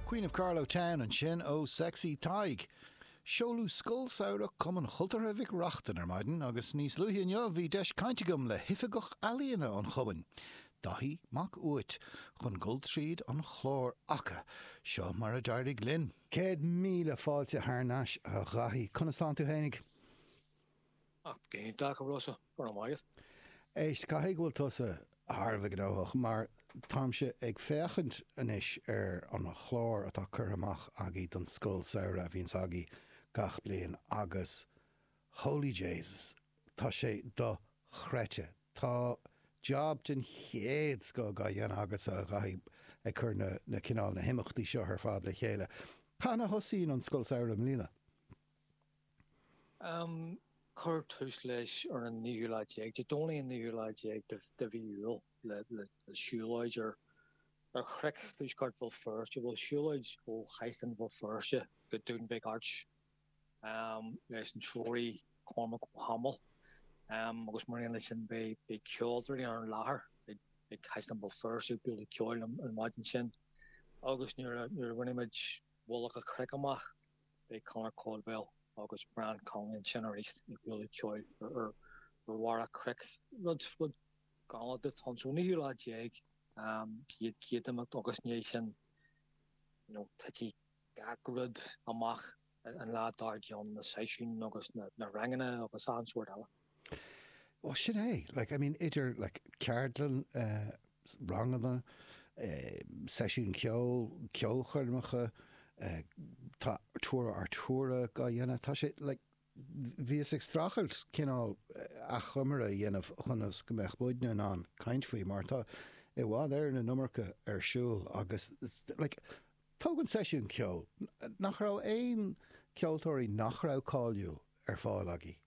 Queen of Carlow Town ansin ó Sexy Tadhg. Seoladh Scoil Samhraidh Chumann Chultúrtha Mhic Reachtain ar maidin agus níos luaithe inniu bhí deis cainte agam le hOifigeach Ealaíona an Chumainn, Daithí Mac Uait, chun dul tríd an chlár acu. Seo mar a d'éirigh linn. 100,000 fáilte thar n-ais a Dhaithí. Conas tánn tú fhéinig? Ach go hiontach, a Rossa, go raibh maith agat. Éist, caithfidh go bhfuil tusa thar a bheith gnóthach mar táimse ag féachaint anois ar an chlár atá curtha amach agaibh don scoil samhraidh a bhíonns agaibh gach bliain agus holy Jesus, tá sé dochreidte. Tá jab den chéad scoth á dhéanamh agatsa, a Dhaithí, ag cur na, na cineál, na himeachtaí seo ar fad le chéile. Cathain a thosaíonn an scoil samhraidh i mbliana? Cuireadh tús leis ar an naoú lá déag, Dé Domhnaigh an naoú lá déag de mhí Iúil le siúlóid ar chnoic thuaisceart Bhéal Feirste, bhuel siúlóid ó Chaisleán Bhéal Feirste go Dún Bheag Airt leis an treoraí Cormac Ó hAdhmaill agus mar aon leis sin beidh ceoltóirí ar an láthair ag Caisleán Bhéal Feirste ag bualadh ceoil an mhaidin sin agus nuair a bhainfidh muid mullach an chnoic amach Beidh Conor Caldwell agus Brian Connolly ansin arís ag bualadh ceoil ar bharr an chnoic. Rud rud galánta atá ann. So naoú lá déag chéad chéad imeacht agus i ndiaidh sin you know titfidh gach rud amach an lá dár gcionn, na seisiúin agus na ranganna agus achan sórt eile. Bhuel, sin é. Like, I mean, idir, like, ceardlann, eh, ranganna, eh, seisiún ceoil, ceolchoirmeacha, eh, tá Tura Artura á dhéanamh, tá sé, like, bhíos ag streachailt cineál achoimre a dhéanamh ionas go mbeadh muidne in ann caint faoi mar tá i bhfad Éireann an iomarca ar siúl agus, like, tóg an seisiún ceoil, nach raibh aon ceoltóirí nach raibh cáiliúil ar fáil agaibh?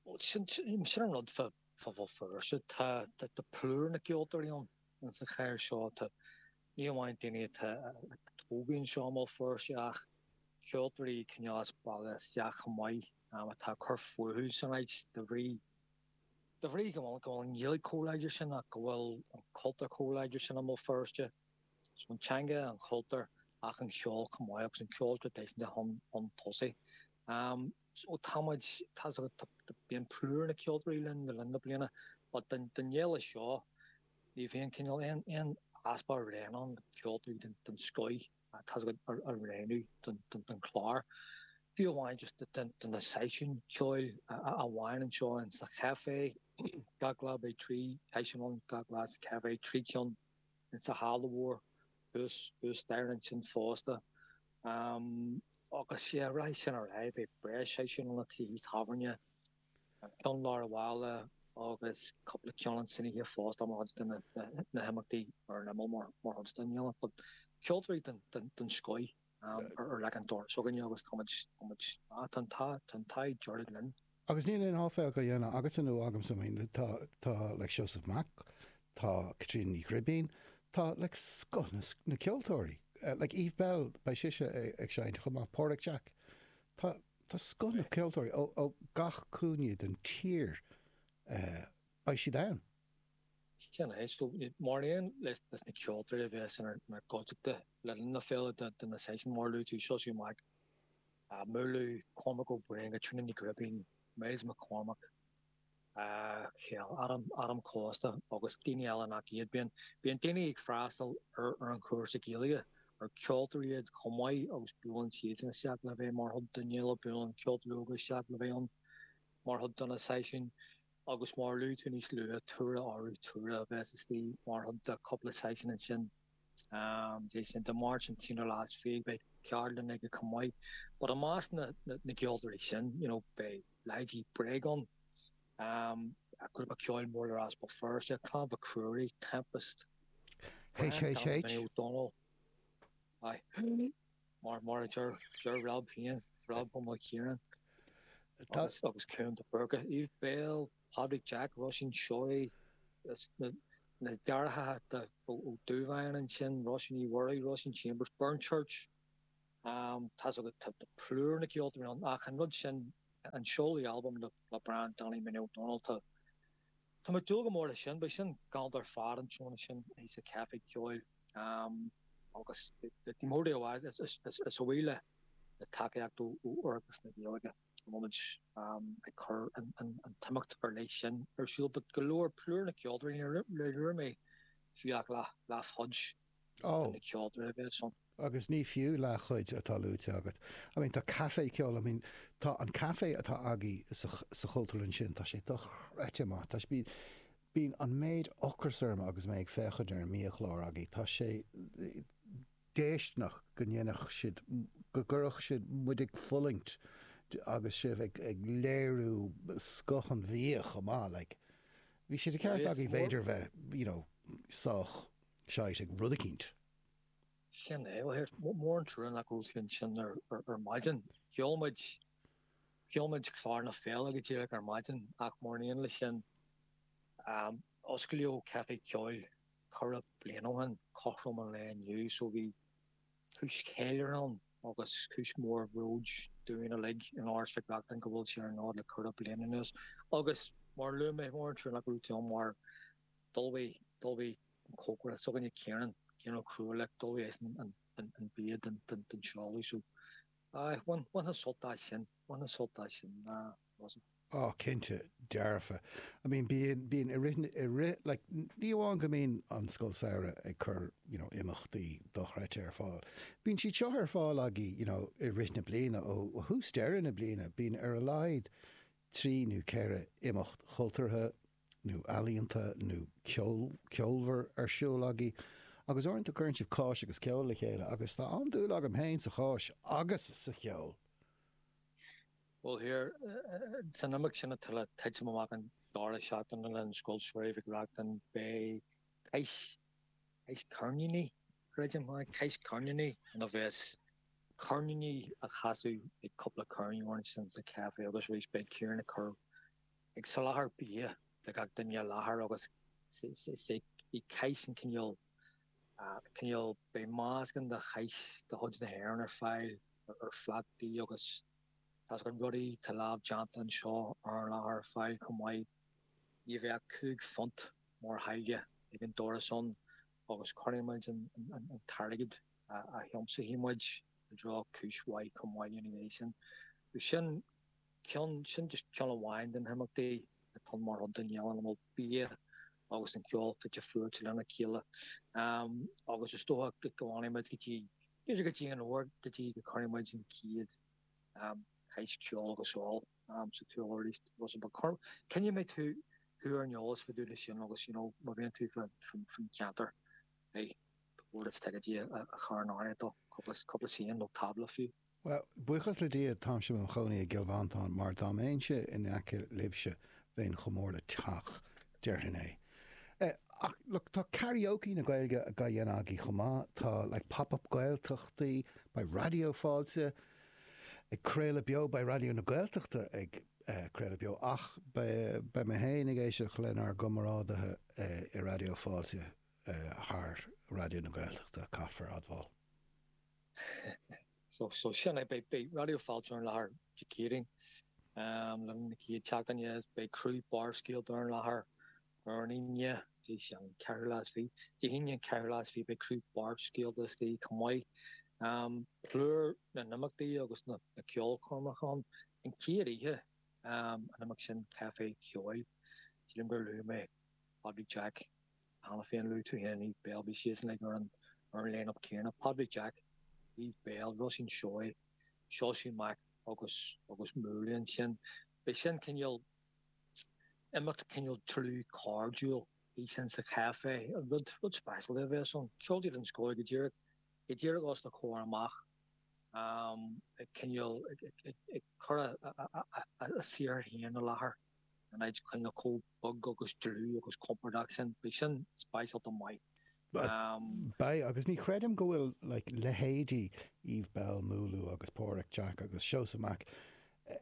Bhuel, sin an rud fá Bhéal Feirste. Tá plúr na gceoltóirí ann sa chathair seo. Tá, ní amháin daoine atá a tógadh anseo i mBéal Feirste ach ceoltóirí cineál as baile isteach chomh maith atá ag cur fúthu san áit de bhrí de bhrí go bhfuil go bhfuil an Ghaeilge chomh láidir sin ach go bhfuil an cultúr chomh láidir sin i mBéal Feirste. So an teanga, an cultúr ach an ceol chomh maith agus an ceol traidisiúnta chun chun tosaigh. So tá muid, tá a fhios agat, bíonn plúr na ceoltóirí linn le linn na bliana but don fhéile seo ní bhíonn cineál aon, aon easpa roghanna ann, ceoltóirí den, den scoith tá a fhios agat a roghnú don, don, don chlár. Fiú amháin just do, do na seisiúin ceoil amháin anseo in sa chaifé, gach lá beidh 3 sheisiún ann, gach lá sa chaifé, 3 ceann in sa halla mhór thuas, thuas staighre ansin fosta. Agus yeah, rachaidh sin ar aghaidh, beidh breis seisiún ann i dtithe tábhairne, an ceann lár an bhaile agus cúpla ceann ansin oíche fosta mar chuid de na himeachtaí ar an imeall mar chuid den fhéile. But ceoltóirí den scoith ar like an dord s'againne agus tá muid, tá muid, ah, tá an t-ádh, tá an t-ádh dearg linn. Agus níl aon áiféil á dhéanamh agatsa nó agamsa, I mean, tá, tá like Seosamh Mac, tá Caitríona Ní Ghribín, tá like scoth na, na ceoltóirí, like Eve Belle, beidh sise ag seinnt chomh maith, Páraic Jack, tá, tá scoth na ceoltóirí ó, ó gach cúinne den tír, eh, beidh siad ann. Sin é, so mar aon leis na ceoltóirí a bheas inár gcuideachta le linn na féile do na seisiúin mar a luaigh tú, Seosamh Mac, Múlú, Cormac Ó Broin, Caitríona Ní Ghribín, Myles McCormack, Adam, Adam Costa agus daoine eile nach iad. Bíonn, bíonn daoine ag freastal ar, ar an chúrsa Gaeilge, ar ceoltóirí iad chomh maith agus buaileann siadsan isteach le bheith mar chuid den fhéile, buaileann ceoltóirí óga isteach le bheith ann mar chuid de na seisiúin agus mar a luaigh tú níos luaithe, Tura Uru Tura a bheas istigh mar chuid de cúpla seisiún ansin. Dé sin Dé Máirt an t-aonú lá is fiche beidh ceardlann aige chomh maith. But i measc na na gceoltóirí sin, you know, beidh leithéidí Bréagán, grúpa ceoil mór le rá as Béal Feirste, Clann Mhic Ruairí, Tempest, HHH. Minnie O'Donnell, aye, mar mar a deir deir Rob féin, Rob Ó Maoilchiaráin, agus agus Cuan de Búrca, Eve Belle, Pádraig Jack, Róisín Seoighe, na na deartháireacha Ó Dubháin ansin, Róisín Ní Mhuirí, Róisín Chambers, Burnchurch, tá 's agat, tá plúr na gceoltóirí ann ach an rud sin, an seoladh albam le le Brian Danny Minnie O'Donnell, tá tá mé ag dúil go mór leis sin, beidh sin galánta ar fad an tráthnóna sin sa Caife Ceoil. Agus ní mór é a rá, is a bhuí le tacaíocht ó Oireachtas na Gaeilge a bhfuil muid ag cur an t-imeacht ar leith sin ar siúl. But go leor, plúr na ceoltóirí, níor luaigh mé fiú ach leathchuid de na ceoltóirí a bheas ann. Agus ní fiú leathchuid atá luaite agat. I mean, tá caife ceoil, I mean, tá an caife atá agaibh sa, sa Chultúrlann sin, tá sé dochreidte maith. Tá sé, bíonn an méid ocras orm agus mé ag féachaint ar an mbiachlár agaibh. Tá sé déistineach go ndéanfadh siad, go gcuirfeadh siad muid ag fulaingt agus sibh ag, ag léiriú scoth an bhia chomh maith. Like, bhí sé de cheart agaibh b'fhéidir bheith, you know, sách shite ag rud eicínt. Sin é. Bhuel, here, mór an trua nach raibh tú ansin ar maidin. Sheol muid, sheol muid clár na féile go díreach ar maidin ach mar aon leis sin, osclaíodh Caife Ceoil ceithre bliana ó shin, cothrom an lae inniu, so bhí cúis cheiliúrtha ann agus cúis mhór bhróid dúinn uilig in Áras Mhic Reachtain go bhfuil sé ar an fhód le ceithre bliana anuas. Agus mar a luaigh mé, mór an trua nach raibh tú ann mar d'ullmhaigh, d'ullmhaigh an cócaire s'againne Ciarán, Ciarán Ó Cruadhlaoich, d'ullmhaigh eisean an, an, an bia don, don, don seoladh. So, aye, bhain, bhainfeá sult as sin, bhainfeá sult as sin, Rossa. Oh, cinnte, dearfa. I mean, bíonn, bíonn i rith, i rith, like, ní amháin go mbíonn an Scoil Samhraidh ag cur, you know, imeachtaí dochreidte ar fáil, bíonn siad seo ar fáil agaibh, you know, i rith na bliana, ó thús deireadh na bliana, bíonn ar a laghad 3 nó 4 imeacht chultúrtha, nó ealaíonta nó ceol, ceolmhar ar siúl agaibh agus uaireanta cuireann sibh cáis agus ceol le chéile agus tá an-dúil agam féin sa cháis agus sa cheol. Bhuel here, san imeacht sin atá le titim amach an deireadh seachtaine le linn Scoil Samhraidh Mhic Reachtain beidh cois, cois ceirníní, creidim, cois ceirníní ina bheas ceirníní á chasadh ag cúpla ceirneoir ansin sa chaife agus arís beidh Ciarán ag cur ag soláthar bia do gach duine i láthair agus is é cois an cineál, cineál, beidh meascán de cháis de chuid na hÉireann ar fáil ar phlátaí agus tá rudaí atá lámh déanta anseo ar an láthair ar fáil chomh maith. Ní bheadh £5 mar tháille ag an doras ann agus cuirfidh muid an t-airgead a thiomsóidh muid i dtreo cúis mhaith chomh maith ina dhiaidh sin. Sin ceann, sin just ceann amháin de na himeachtaí atá mar chuid den fhéile ina bhfuil bia agus an ceol fite fuaite lena chéile. Agus is dócha go bhfanfaidh muid go dtí, b'fhéidir go dtí an fhómhar, go dtí go gcuirfidh muid an chéad chois ceoil agus ól sa tsiúl arís. Coinneoidh mé tú thú ar an eolas fá dtaobh de sin agus you know má bhíonn tú faoin cheantar, hey, ba chóir duit ticéidí a chur in áirithe do cúpla suíochán nó tábla fiú. Bhuel, buíochas le Dia, táimse i mo chónaí i gCill Mhantáin, mar dá mbeinnse in aice libhse, bheinn chomh mór le teach, déarfainn é. Ach, look, tá karaoke na Gaeilge á dhéanamh agaibh chomh maith, tá like pop-up Gaeltachtaí, beidh Raidió Fáilte ag craoladh beo, beidh Raidió na Gaeltachta ag craoladh beo, ach beidh mé féin ag éisteacht lenár gcomrádaithe i Raidió Fáilte thar Raidió na Gaeltachta, caithfear a admháil. So, so sin é, beidh, beidh Raidió Fáilte ar an láthair Dé Céadaoin le linn na chéad tseachtaine, beidh criú Barrscéalta ar an láthair ar an Aoine, Dé sin an ceathrú lá is fiche, Dé hAoine an ceathrú lá is fiche, beidh criú Barrscéalta istigh chomh maith. Plúr na n-imeachtaí agus na, na ceolchoirmeacha ann. An chéad oíche, an imeacht sin Caife Ceoil, sílim gur luaigh mé Pádraig Jack, Cheana féin luaigh tú féin Eve Belle, bhí siadsan like ar an ar an line-up céanna, Pádraig Jack, Eve Belle, Róisín Seoighe, Seosamh Mac agus agus Múlú ansin. Beidh sin cineál imeacht cineál dlúth cairdiúil í sin sa chaife, rud rud speisialta a bheas ann. Ceoltóirí den scoth go díreach go díreach os do chomhair amach ag cineál ag ag ag cur a a a a saothar féin i láthair. An áit cineál chomh beag agus dlúth agus compordach sin, beidh sin speisialta maith. Beidh, agus ní chreidim go bhfuil like leithéidí Eve Belle, Múlú agus Páraic Jack agus Seosamh Mac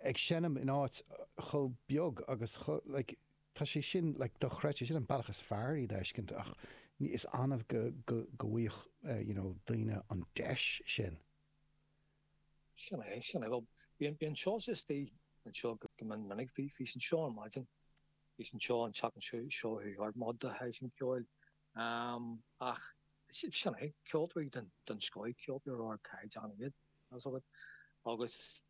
ag seinm in áit chomh beag agus chomh like tá sé sin like dochreidte, sin an bealach is fearr iad a fheiscint ach is annamh go go go bhfaigheadh you know daoine an deis sin. Sin é, sin é. Bhuel, bíonn, bíonn Seosamh istigh anseo go mion minic. Bhí, bhí sé anseo ar maidin. Bhí sé anseo an tseachtain seo, seo chuaigh thart, mar chuid de sheisiún ceoil. Ach Sin é, ceoltóirí den scoth, ceoltóirí ar ardchaighdeán iad, tá 'fhios agat. Agus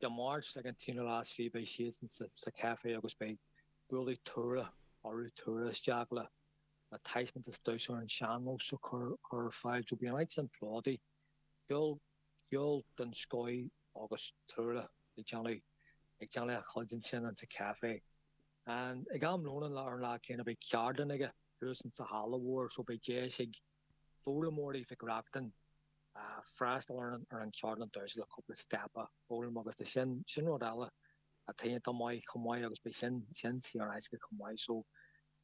Dé Máirt ag an t-aonú lá is fiche beidh siadsan sa chaifé agus beidh bualadh tuaire orthu tuaire isteach le taispeántas damhsa ar an sean-nós a chur ar fáil. So beidh an áit sin plódaithe. Ceol, ceol den scoth agus tuaire ag déanamh, ag déanamh a chuid ansin insa chaifé. Ag am lóin an ar an lá céanna beidh ceardlann aige thuas insa halla mhór so beidh deis ag foghlaimeoirí Mhic Reachtain freastal ar an cheardlann damhsa le cúpla steip a fhoghlaim agus tá sin, sin rud eile atá iontach maith chomh maith agus beidh sin, sin saor in aisce chomh maith. So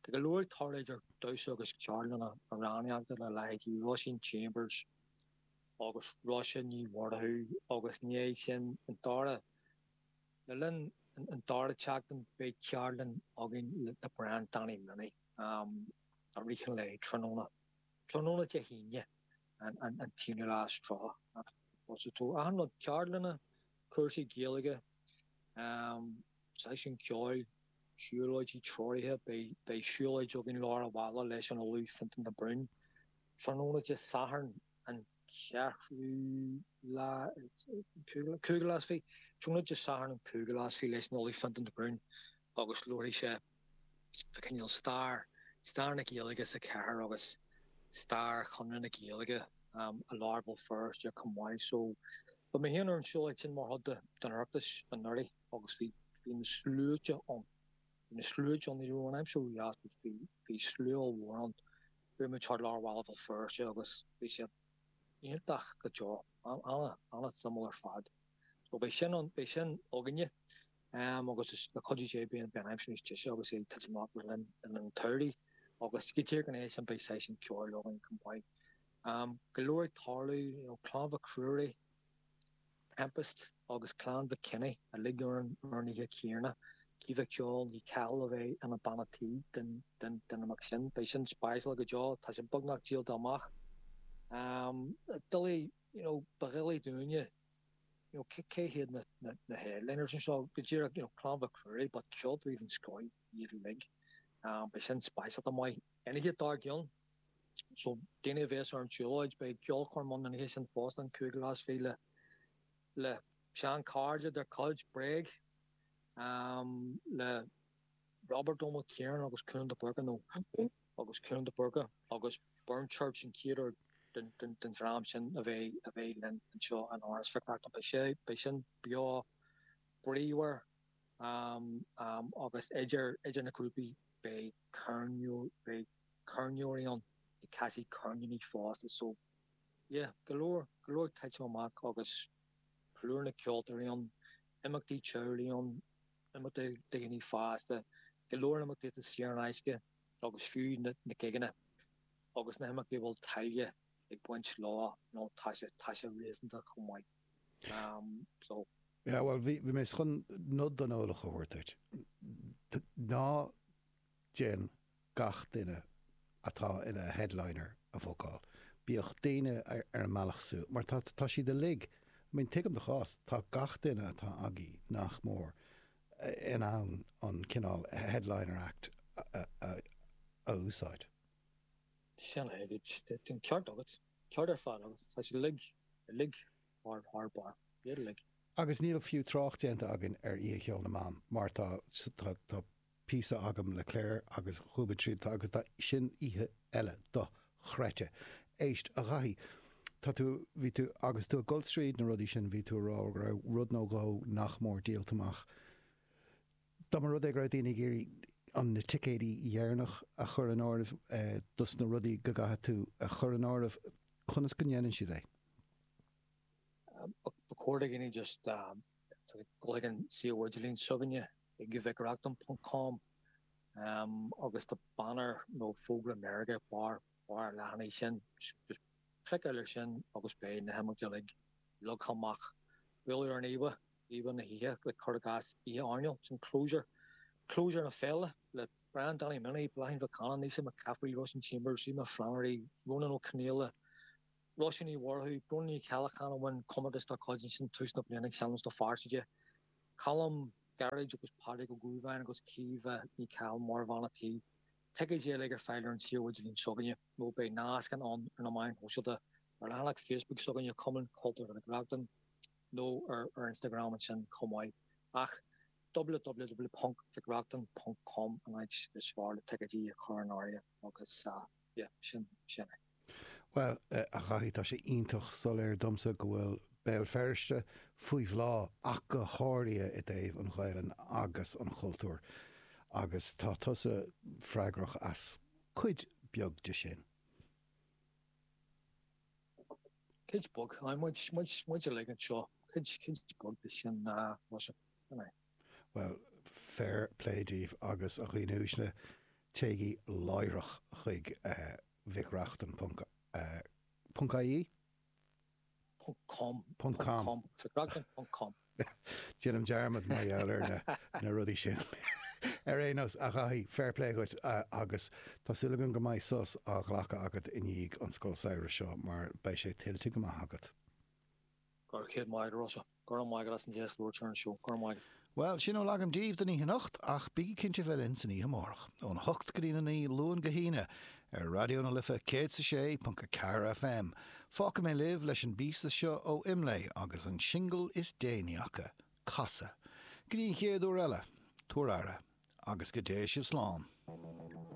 tá go leor ag tarlú idir damhsa agus ceardlanna amhránaíochta le leithéidí Róisín Chambers agus Róise Ní Mhurchú agus i ndiaidh sin an dara, le linn an dara tseachtain beidh ceardlann againn le Brian Danny Minnie i rith an lae tráthnóna. Tráthnóna Dé hAoine an t-aonú lá is 30. So achan rud, ceardlanna, cúrsaí Gaeilge, seisiún ceoil, siúlóidí treoraithe, beidh siúlóid againn lár an bhaile leis an Ollamh Fintan de Brún. Tráthnóna Dé Sathairn an ceathrú lá, cúigiú lá is fiche, tráthnóna Dé Sathairn an cúigiú lá is fiche leis an Ollamh Fintan de Brún agus labharfaidh sé fá cineál stair, stair na Gaeilge sa chathair agus stair Chonradh na Gaeilge i lár Bhéal Feirste chomh maith. So bhí mé féin ar an siúlóid sin mar chuid den Oireachtas anuraidh agus bhí bhí na sluaite ann. Bhí na sluaite ann, ní raibh an aimsir ródheas but bhí bhí slua ollmhór ann. Chuaigh muid thart lár bhaile Bhéal Feirste agus bhí sé iontach go deo, an-suimiúil ar fad. So beidh sin ann, beidh sin againne. Agus le cuidiú Dé beidh an aimsir níos deise agus é ag titim amach le linn an tsamhraidh agus go díreach ina dhiaidh sin beidh seisiún ceoil againn chomh maith. Go leor ag tarlú, you know, Clann Mhic Ruairí, Tempest agus Clann Mhic Cionnaith uilig ar an oíche chéanna. Caoimhe Ceol Ní Chathail a bheidh ina bean a' tí den imeacht sin. Beidh sin speisialta go deo, tá sé beagnach díolta amach. Doiligh, you know, ba dhoiligh dúinne you know, cé hiad na, na, na headliners anseo, go díreach, you know, Clann Mhic Ruairí, but ceoltóirí den scoth iad uilig. Um, beidh sin speisialta maith. An oíche dár gcionn, so daoine a bhéas ar an tsiúlóid, beidh ceolchoirm ann an oíche sin fosta, an cúigiú lá is fiche le, le seanchairde dár gcuid, Bréag, um, le Robert Ó Maoilchiaráin agus Cuan de Búrca, nó agus Cuan de Búrca agus Burn Church an chéad uair den dream sin a bheidh a bheidh linn anseo in Áras Mhic Reachtain. Beidh sé beidh sin beo bríomhar agus idir idir na grúpaí beidh ceirneoir beidh ceirneoirí ann ag casadh ceirníní fosta so yeah go leor go leor ag titim amach agus plúr na ceoltóirí ann, imeachtaí teaghlaigh ann, imeachtaí do dhaoine fásta, go leor imeachtaí atá saor in aisce agus fiú na gigeanna agus na himeachtaí a bhfuil táille ag baint leo, you know, tá sé, tá sé réasúnta chomh maith. Um, so. Yeah, well, bhí, bhí mé chun nod don eolach a thabhairt duit. Ná déan gach duine atá ina headliner a bhookáil. Bíodh daoine ar an mbealach suas, mar tá, tá siad uilig, I mean, tuigim do chás, tá gach duine atá agaibh, nach mór, in ann an cineál headliner act a úsáid. Sin é, tá an ceart agat, ceart ar fad agat, tá siad uilig, uilig thar, thar barr, iad uilig. Agus níl fiú trácht déanta againn ar Oíche Cheoil na mBan, mar tá, tá, tá píosa agam le Claire agus chuaigh muid tríd agus tá sin oíche eile dochreidte. Éist, a Dhaithí, tá tú, bhí tú, agus tú ag dul tríd na rudaí sin, bhí tú ag rá go raibh rud nó dhó nach mór díolta amach. Dá mba rud é go raibh daoine ag iarraidh an na ticéidí dheireanach a chur in áireamh dos na rudaí go gcaithfidh tú a chur in áireamh, conas go ndéanann siad é? Ba chóir do dhaoine just dul chuig an suíomh idirlín s'againne ag mhicreachtain ponc com agus tá banner nó fógra meirge ag barr barr an leathanaigh sin. Just cliceáil air sin agus beidh na himeachtaí uilig leagtha amach. Bualadh ar an íomhá, íomhá na hoíche, le cur i gcás Oíche Airneáil, sin closure, closure na féile le Brian Danny Minnie, Bláithín Mhic Cana, Naoise McCaffrey, Róisín Chambers, Aoibheann Flannery, Ronan Ó Conghaile, Róisín Ní Mhurchú, Bróna Ní Cheallacháin a bhain comórtas dá cuid ansin tús na bliana ag seinm do Fearsaide, Colm Gearóid agus Pádraig Ó Dúbháin agus Caoimhe Ní Chathail mar bhean a' tí. ticéidí uilig ar fáil ar an suíomh idirlín s'againne nó beidh nascanna ann ar na meáin shóisialta, ar leathanach Facebook s'againne, Cumann Cultúrtha Mhic Reachtain, nó ar ar Instagram ansin chomh maith. Ach www.mhicreachtain.com an áit is fearr le ticéidí a chur in áirithe agus yeah, sin sin é. Bhuel, a Dhaithí, tá sé iontach soiléir domsa go bhfuil Béal Feirste faoi bhláth ach go háirithe i dtaobh an Ghaelainn agus an chultúir agus tá tusa freagrach as cuid beag de sin. Cuid beag, aye, muid, muid, muid uilig anseo, cuid, cuid beag de sin, Rossa, sin é. Bhuel, fair play daoibh agus a dhaoine uaisle, téigí láithreach chuig mhicreachtain ponc ponc ie? Ponc com. Ponc com. Mhicreachtain ponc com. Déanaim dearmad mar gheall ar na na rudaí sin. Ar aon nós, a Dhaithí, fair play dhuit agus tá súil agam go mbeidh sos á ghlacadh agat i ndiaidh an Scoil Samhraidh seo mar beidh sé tuillte go maith agat. Go raibh céad maith agat, a Rossa. Go raibh maith agat as an deis labhairt ar an seó. Go raibh maith agat. Bhuel, sin a bhfuil agam daoibh don oíche anocht, ach bígí cinnte bheith linn san oíche amárach, ón 8 go dtí'n 9, Luan go hAoine, ar Raidió na Life 106.4 FM. Fágfaidh mé libh leis an bpíosa seo ó Imlé agus an singil is déanaí acu, Casadh. Go dtí an chéad uair eile, tabhair aire, agus go dté sibh slán.